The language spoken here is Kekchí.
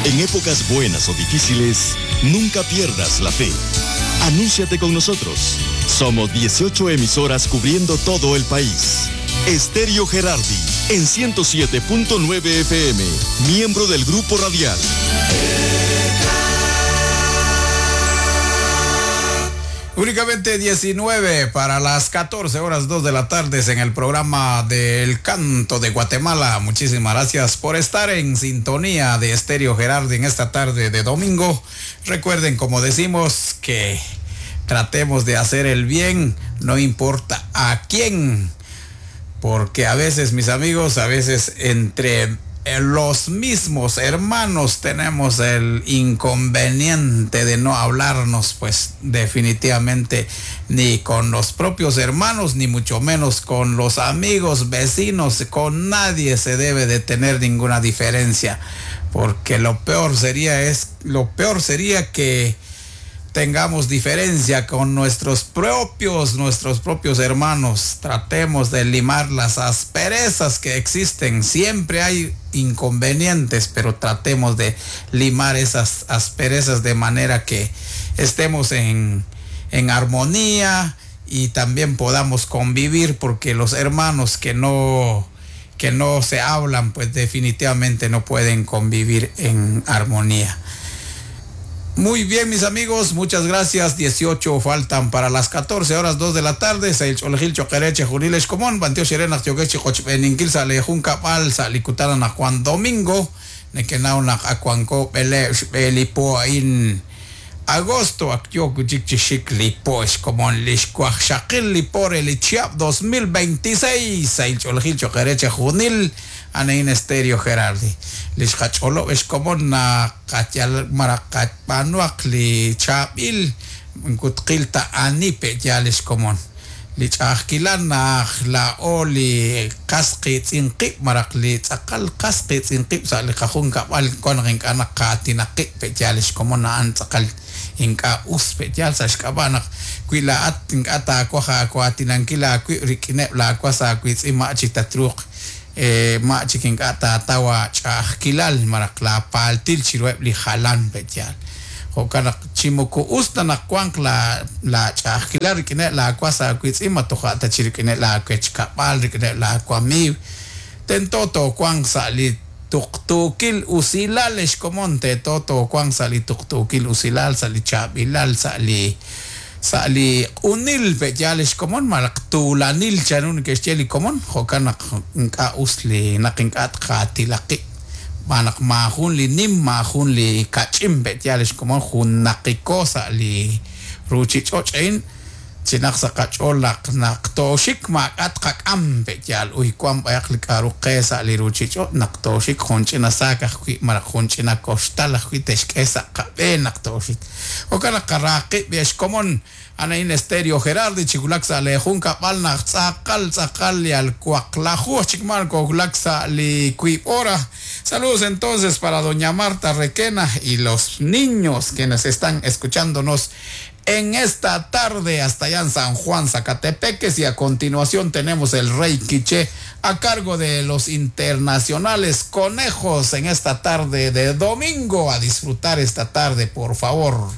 En épocas buenas o difíciles, nunca pierdas la fe. Anúnciate con nosotros. Somos 18 emisoras cubriendo todo el país. Estéreo Gerardi, en 107.9 FM, miembro del Grupo Radial. Únicamente 19 para las 14 horas 2 de la tarde en el programa del Canto de Guatemala. Muchísimas gracias por estar en sintonía de Estéreo Gerardi en esta tarde de domingo. Recuerden, como decimos, que tratemos de hacer el bien, no importa a quién. Porque a veces, mis amigos, a veces entre los mismos hermanos tenemos el inconveniente de no hablarnos, pues definitivamente ni con los propios hermanos, ni mucho menos con los amigos, vecinos, con nadie se debe de tener ninguna diferencia, porque lo peor sería es lo peor sería que tengamos diferencia con nuestros propios, nuestros propios hermanos. Tratemos de limar las asperezas que existen. Siempre hay inconvenientes, pero tratemos de limar esas asperezas de manera que estemos en, en armonía y también podamos convivir, porque los hermanos que no que no se hablan, pues definitivamente no pueden convivir en armonía. Muy bien, mis amigos, muchas gracias. 18 faltan para las 14 horas 2 de la tarde. Juan Domingo, agosto como lipo 2026 junil anain Estéreo Gerardi. Lixqach'olob ixkomon naqatyal maraqatpanuaq li chaab'il nkutqil ta anipe yal ixkomon. Li ch'ajkilan naj la'o li qas qitz'inqib' maraq li tz'aqal qas qitz'inqib' sa' li qajun kab'al kuan ink'a' naq qaatinaqib' pe yal ixkomon na'an tz'aqal ink'a' us pe yal sa' xk'ab'a' naq wi la'at ink'a' taawaj aawatinankil aawib' rik'ineb' laawas aawitz'in ma' chik tatruuq ma' chik ink'a' taatawa ch'a'ajkilal maraq laapaaltil chiruheb' li jalan pe yaal. Jo'kan naq chi moko us ta naq wanq la laach'a'ajkilal rik'ineb' laawas aawitz'in ma toja' ta chi rik'ineb' laawechkab'al rik'ineb' laawamiiw. Tento toowanq sa' li tuqtuukil usilal xkomon tento toowanq sa' li tuqtuukil usilal sa' li chaab'ilal sa' li sa' li q'unil pe yaal xkomon malaq tuulanil chanru neke'xye li komon jo'kan naq ink'a' us li naq ink'a' tqaatilaqib' xb'aan naq maajun li nim maajun li kach'in pe yaal xkomon junnaqiko sa' li ruuchich'och' a'in chinaq sa' qach'ool naq naq tooxik maak'a' tqak'am pe yaal uy wan b'ayaq li k'a'ru qe sa' li ruuchich'och' naq tooxik jun ch'ina saak ajwi' malaj jun ch'ina koxtal ajwi' te'xk'e sa' qab'een naq tooxik jo'kan naq qaraqib' xkomon anain Estéreo Gerardi chiwulak sa' le jun kab'al naq tz'aqal tz'aqal yal waqlaju chik mal kowulak sa' li wiib' hora. Saludos entonces para doña Marta Requena y los niños quienes están escuchándonos en esta tarde hasta allá en San Juan, Zacatepeques, y a continuación tenemos el Rey Quiché a cargo de los internacionales Conejos en esta tarde de domingo. A disfrutar esta tarde, por favor.